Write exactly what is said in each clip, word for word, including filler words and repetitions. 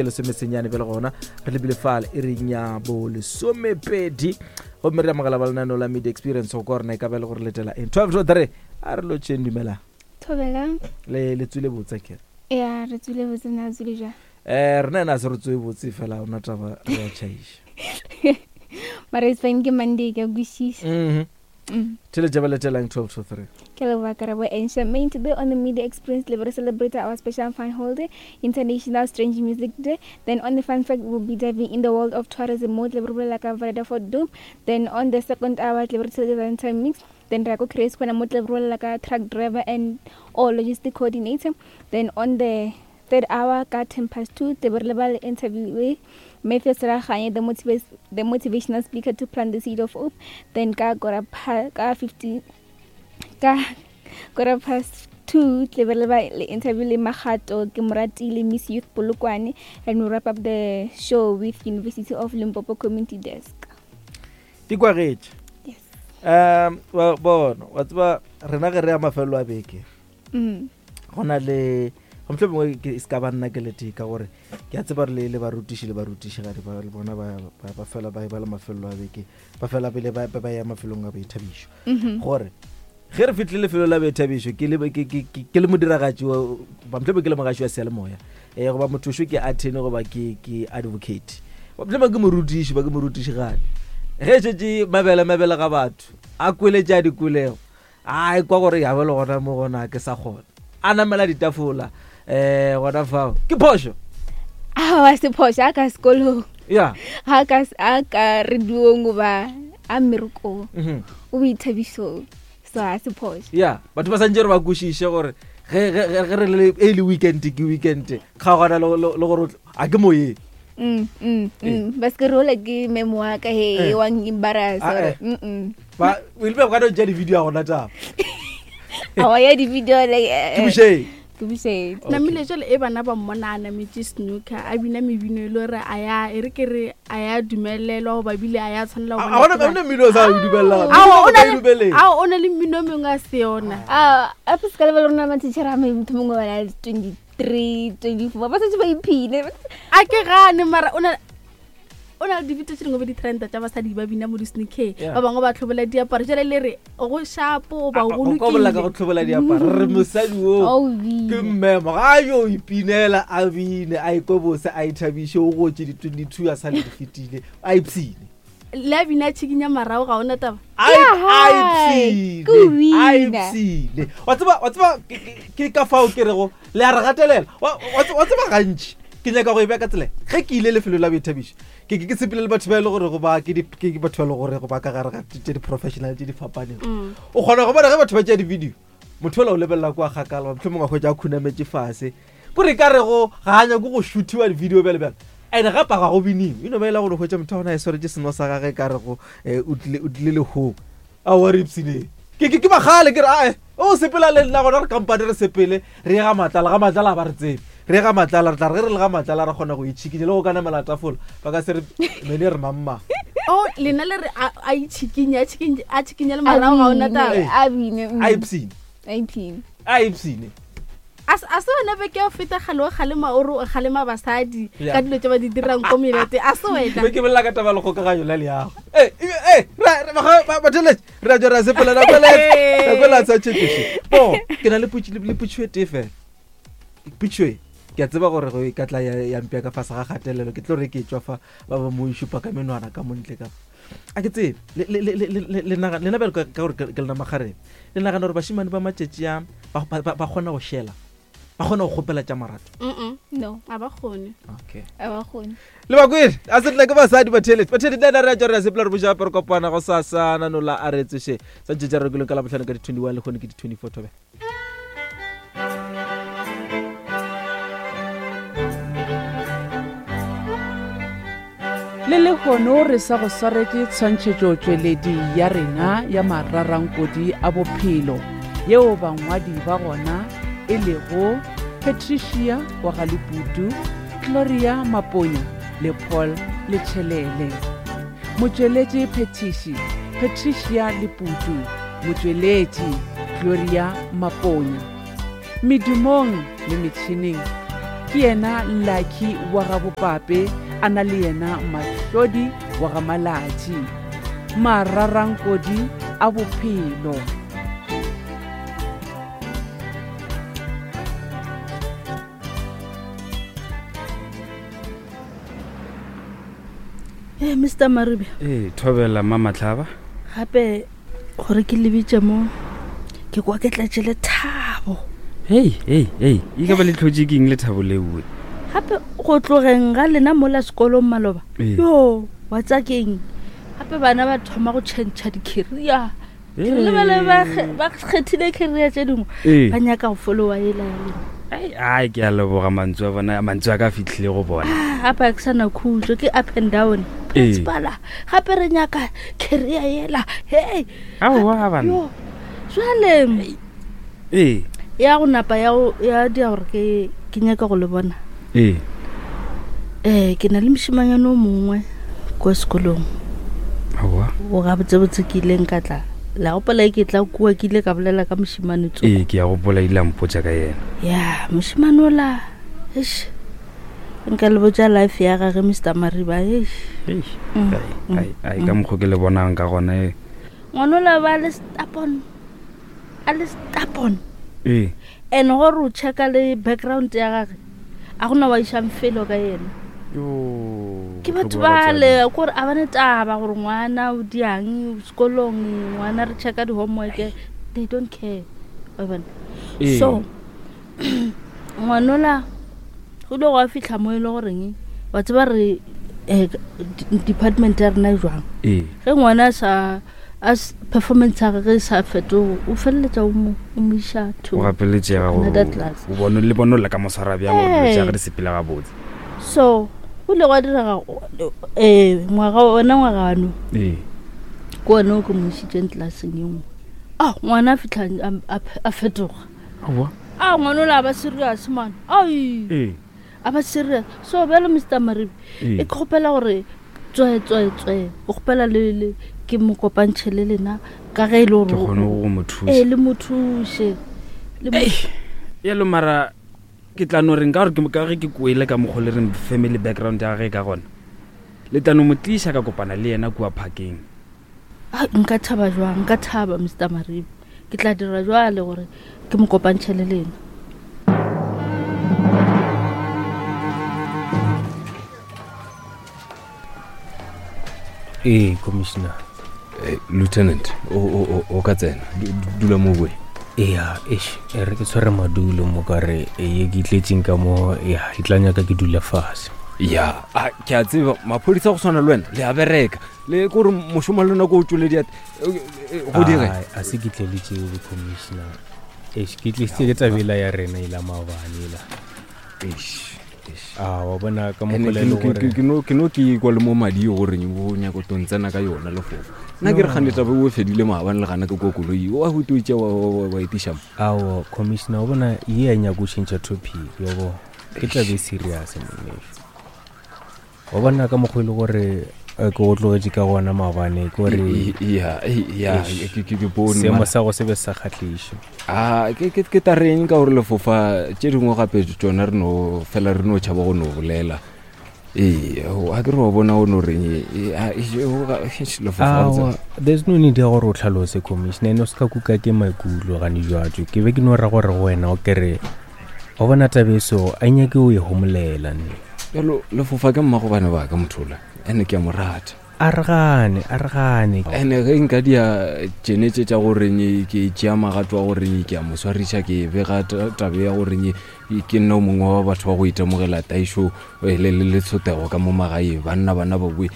Lesomesenyane bjale gona re lebile fale e reng ya bo lesomepedi, gomme re amogela ba lenaneo la Media Experience go kwa rena e ka ba le gore letela eng. Twelve to three, a re lotšheng. Dumelang. Thobelang. Le le tswile botse kere? Ya, re tswile botse. Na tswile jang? um rena ena a se re tsoe botse, fela ona taba re a tšhaiša. Mara it's fine, ke Monday, ke a kwešiša. Mhm. Mm. Theletša ba letelang twelve to three. Ke leboga Karabo and Charmaine. Today on the Media Experience, we celebrate our special fun holiday, International Strange Music Day. Then on the fun fact, we'll be diving in the world of tourism, mo tle re bolela ka Vredefort Dome. Then on the second hour, tle re tshele Valentine Mix. Then re ya ko Grace Corner, mo tle re bolela ka truck driver and or logistic coordinator. Then on the third hour, ka ten past two, tle re leba le interview with Matthew Seraganye, the, motiva- the motivational speaker to plant the seed of hope. Then ka kora pa- ka fifty ka quarter past two, tle be re leba le interview le Magato ke Moratile, Miss Youth Polokwane, and we wrap up the show with University of Limpopo Community Desk. Di kwagetše. Yes. um wa bona, wa tseba rena ge re ya mafelelo a beke, mm. go na le go mohlomongwe ke se ka ba nna ke letee, ka gore ke a tseba re le le barutiši le barutišigadi ba le bona ba ba- ba fela ba e ba le mafelelo a beke, ba fela pele ba ba ba ya mafelong a boithabišo. Mm-hmm. Gore ge re fitlhile lefelo la boithabišo, ke le ke- ke- ke- ke le modiragatši wa- ba mohlomongwe ke le mogaši wa seyalemoya, um goba mothošo ke attorney, goba ke ke advocate, ba mohlomongwe ke morutiši, ba ke morutišigadi, ge šetše mabele mabele ga batho a kweletše a dikolego, a e kwa gore ya bele gona mo gona ke sa kgona a namela ditafola um gona fao ke phošo. Aowa, se phošo, a ka sekolong. Ya. Ga ka a ka radiong goba a mmerekong, Mhm. o boithabišong, so ga se phošo. Ya, batho ba santse re ba kwešiše gore ge ge- ge- ge re le e le weekend ke weekend, kgaogana le le- le gore o tl- a ke moyeng. Mm, mm, Eh. mm. Ba se ke re ola ke memo wa ka he Eh. wa embarrass. Ah, Or eh. mm ba o ile ba ka no tšea di-video ya gona taba. Awa, ya di-video like eh, Ke bošeng. Ke bošeng. Okay. Namile jale e bana ba mmona a nametse snooker, a bina mebino e le gore a ya e re ke re a ya dumelelwa goba bile a ya tshwanela go A bona gona ke bana. gona mmino o sa o dumelela. Ao, o na o le- dumeleng. ao, o na le mmino o mengwe a se yona. Ah, ape se ka lebala rona matitšhere a me motho mongwe ba na le twenty three, twenty four, ba setse ba iphile. A ke gane, mara o na o na le dibito tse dingwe be di-trenda tša basadi ba bina mo di-sneaker. Yeah. Ba bangwe ba tlhobola diaparo, jale le re go shapo goba go Go ka bolela ka go lokile. tlhobola diaparo, re mosadi o Oh, ke bina. mmemo ga a yo ipinela, a bine, a ikwe bose, a ithabiše, o gotse di-twenty-two a sa le di fetile, a ipshine. Le a bina a tšhikinya marago, ga ona taba. A Yeah, a hi. ipshine, Ke o bina. a ipshine. Wa tseba wa tseba ke- ke ke ka fao ke rego le a re gatelela. Wa wa tse- wa tseba gantši ke nyaka go e bea ka tsela ge ke ile lefelo la boithabišo, ke ke ke sepele le batho ba e le gore go ba ke di- ke ke batho ba e le gore go ba ka gare ga tše di-professional tše di fapaneng. Mm. O kgona go bona ge batho ba tšea di-video, motho ola o lebelela kwa kgakala, mohlomongwe a hwetša a khunametse fase, kore ka rego ga a nyake go shootiwa di-video bjale bjale. And gape ga go biniwe, e no ba e le gore hwetša motho wa gona a e swaretse seno sa gage, ka rego um o tlile o tlile lehong aowa re ipshineng. ke ke ke bagale ke re ae o sepela le nna gona, re kampane re sepele re ye ga Matlala, ga Matlala ga ba re tsebe, re ye ga Matlala, re tla re ge re le ga Matlala re kgona go itšhikinya le go ka namela tafola, ba ka se re mene re mamma. O lena le re a a itšhikinye, a tšhikinye- a tšhikinye le marago, ga ona taba. Eh. A bine, mm. A ipshine. A iphine. A ipshine. A se a se wena beke ya go feta kgale o kgalema, o re o kgalema basadi Yeah. ka dilo tse ba di dirang ko melete, a se wena? Be ke bolela ka taba ya lekgokaganyo la leago. Eh, eh, ra- ra- baga- ba- batheletše re a tswa re a sepela nako e le- nako e le a sa tšhetšoše bo ke na le potši- le potšo e tee fela. Potšo e ke a tseba gore go e ka tla ya ya mpea ka fase ga kgatelelo, ke tlo re ke tswa fa ba ba mo šupa ka menwana ka montle ka a ke tsebe. Le- le- le- le- le- le naga- lena bjalo ka ka gore ke ke lena makgarebe, le nagana gore bašemane ba matšatši a ba ba- ba- ba kgona go šela, ba kgona go kgopela tša marato? Mm-mm, No, a ba kgone. Okay. a ba kgone. Le bakwele a se tla ke basadi batheletši, batheletši le ena re a tswa re a sepela, re boša gape re kopana go sasa nanola a re tsoše sa tšetša re rekileng ka labohlano ka di-twenty-one, le kgone ke di-twenty-four thobe. Le lehono re sa go swaretše tshwantšhetšotšweledi ya rena ya mararankodi a bophelo, yeo bangwadi ba gona e lego Patricia wa Galeputu, Gloria Maponya le Paul Letšhelele. Motšweletši phethiši Patricia Leputu, motšweletši Gloria Maponya, medumong le metšhineng Ke yena Lucky wa ga Bopape a na le yena Mahlodi wa ga Malatši. Mararankodi a bophelo. Eh, Mister Maribe. Eh, thobela mama Tlhaba. Gape gore ke lebitse mo ke kwa ke tlatše lethabo. Hey, hey, hey, e ka ba le tlhotše ke eng lethabo leo? Gape go tlogeng ga lena mola sekolong maloba. Yo, wa tsa keng? Gape bana ba thoma go tšhentšha di-career. Ke lebele ba ba kgethile career tše dingwe. Ba nyaka go followa ela ya lena. Ai, ai, ke a leboga mantswe a bona, mantswe a ka fitlhile go bona. Gape a ke sana khutso, ke up and down. Principal, gape re nyaka career yela. Hey. Aowa bana. Jwale. Eh. Ya go napa ya ya dia gore ke ke nyaka go le bona. Eh. Eh, ke na le moshimanyana o mongwe kwa sekolong. Aowa. O ga botsebotse ke ileng ka tla. La gopola ke tla kua ke ile ka bolela ka moshimane tso. Eh, ke ya gopola ile a mpotša ka yena. Ya, moshimane ola. Eish. Nka le botša life ya gagwe Mister Mariba. Eish. Eish. Ai, ai, ka mokgo ke le bonang ka gona e. Ngwana ba le stubborn. A le stubborn. Eh. And gore o checka le background ya gagwe. A gona wa išang felo ka yena. Yo. Ke batho ba le gore a bane taba gore ngwana o diang sekolong, ngwana re checka di homework, they don't care. Wa bona. So ngwanola go ile go fihla mo e le goreng wa tseba re department ya rena jwang. Eh. Ge ngwana sa as performance ya gagwe sa fetoge o feleletša o mo o mo iša to o gapeletšega gore o bone le bone le ka moswara bjang gore dilo tša gagwe di sepele gabotse. So go ile gwa direga eh ngwaga ona ngwaga ano eh ke one o ke mo išitšeng tlelaseng ye nngwe. Ah, ngwana a fitlha a fetoga. Aowa. Ah, ngwana ola a ba serious man. Ai. Eh. A ba serious. So bjalo Mister Maribe e ke kgopela gore tswe tswe tswe o kgopela le le ke mo kopantšhe le lena ka ge e le gore ke kgone go mo thuša. Eh, le mo thuše. Le mo yelo mara ke tla no reng ka gore ke ka ge ke kwele ka mokgo le reng family background ya gagwe ka gona. Le tla no mo tliša ka kopana le yena kua parkeng. Ah, nka thaba jwang, nka thaba Mister Maribe. Ke tla dira jwale gore ke mo kopantšhe le lena. Eh, Commissioner. Eh, Lieutenant, o o o ka tsena. Dula mo boe. Ea, eish, e re ke tshware madulo mo ka re ye ke itletseng ka mo, ya, e tla nyaka ke dula fase. Ya, a ke a tseba maphodisa go tshwana le wena le a bereka. Le gore mošomo le nako o tswele diat go dire. A se ke tle le tšeo, Commissioner. Eish, ke tlisitse ke tabela ya rena ila maobane ela. Eish. Ah, wa bona ka mokgwa le gore ke no ke no ke kwa le mo madi gore o nyaka to ntsena ka yona le fofo. Nna ke re gane taba o fedile maabane le gana ke ko koloi wa go toitse wa wa etiša mo. Awo, Commissioner, o bona ye ya nyaka go tšhentšha topic yo bo. Ke tla be serious monnesho. Wa bona ka mokgwa le gore ke go tlogetše ka gona maabane ke gore ya ya ke ke bone seemo sa go se be sa kgahliše. Ah, ke ke ke tareng ka gore lefofa tše dingwe gape tšona re no fela re no tšhaba go no bolela. Ee, a ke re wa bona o no reng lefofa. There's no need ya gore o tlhalose, Commissioner, ene o se ka kuka ke maikutlo gane jwatso. Ke be ke no ra gore go wena o kere wa bona tabe so a nyake o e homolela nne. Bjalo lefofa ke mmago bana ba ka mothola ene ke a mo rata. A re gane, a re gane. Ene ge nka dia tšenetse tša goreng ke tšea magato a goreng ke a mo swariša ke bega tabe ya goreng ke nna o mongwe wa batho ba go itemogela taišo le le le tshotego ka mo magae banna bana ba bue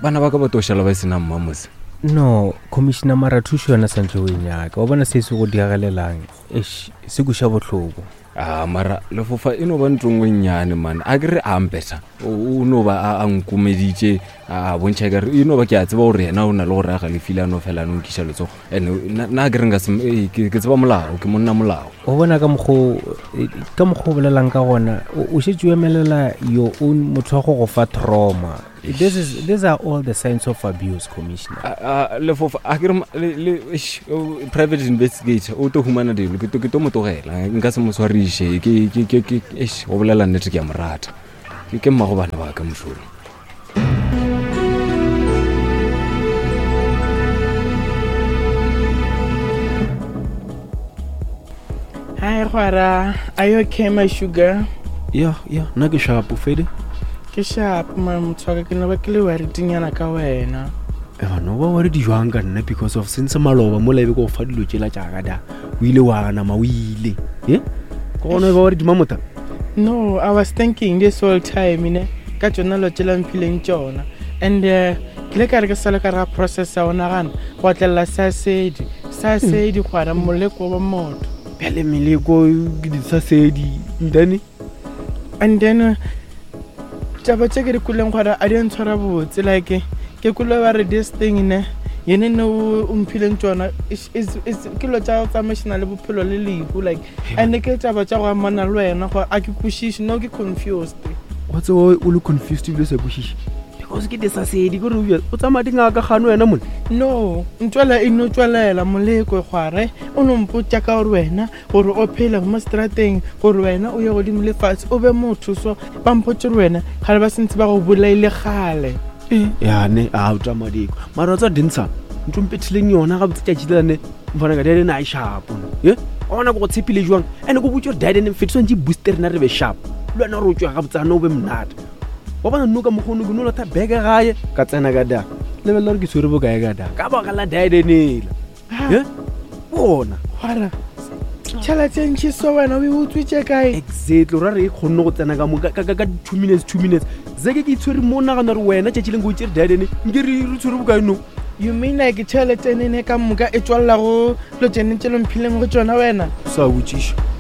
bana ba ka ba to šala ba sena mmamose. No, Commissioner, mara thušo yona santse o e nyaka. Wa bona se se go diagelelang eish, se kuša bohloko. Ah, mara lefofa e no ba ntho nngwe nnyane man. A ke re a mpetha o no ba a nkomeditše a bontšha ka re e no ba ke a tseba gore yena o na le gore a galefile a no fela a no nkiša letsogo. And nna ke re nka se ke tseba molao, ke monna molao. O bona ka mokgo ka mokgo o bolelang ka gona o šetše o emelela your own motho wa go go fa trauma. This is these are all the signs of abuse, Commissioner. A lefofa a ke re le private investigator o to humana dilo ke to ke to mo tlogela nka se mo swariše ke ke ke ke eish go bolela nnete ke a mo rata ke ke mmago bana ba ka mošomo. Hi Gwara, are you okay my sugar? Yeah, yeah, nna ke sharp fede. Ke sharp man, motho wa ka ke no ba ke le worried-nyana ka wena. E bana o ba worried jwang ka nna because of since maloba mola e be ke go fa dilo tšela tša ka da. O ile wa nama o ile. Eh? Ke gona e ba worried mamota? No, I was thinking this whole time ne ka tšona lo tšela mphileng tšona. And uh, ke le ka re ke sala ka ra process ya ona gana go atlela sa sedi, sa sedi Gwara moleko wa motho. Bjale meleko ke di sa sedi then and then taba tše ke di kuleng gore a di ntshwara botse like ke kule ba re this thing ne yene ne o mphileng tsona ke lo tša tsamaišana le bophelo le lehu like and ke taba tša go amana le wena gore a ke kwešiše no ke confused. Wa tseba o le confused ebile o sa kwešiše because ke disasedi kore o tsamaya dingaka gane wena mone. No ntšwela e no tšwelela moleko Gware o no mpotša ka gore wena gore o phele mo strateng gore wena o ye godimo le fatshe o be motho so ba mpotše gore wena gale ba sentse ba go bolaile gale. Yane a o tsamaya diko mara tsa dintsha ntho mpethileng yona ga botse tšatši lane mfana ka dene a sharp ye ona go tshepile jwang ene go botse gore dene mfetso ntse booster rena re be sharp le wena re o tswa ga botsana o be monate wa bona nno ka mokgono ke no lata beke gae ka tsena ka da lebelela gore ke tshwere bokae ka da ka baka la diadenela ye bona Gwara tšhelete ntši so wena o e utswitše kae? Exactly ra re e kgonne go tsena ka mo ka ka two minutes two minutes zeke ke itshwere mo nagana gore wena tšatši leng ke o tšere diadene nke re re tshwere bokae no. You mean like tšhelete nene ka moka e tswalela go lo tšene tše lo mphileng go tšona wena? Sa botšiša.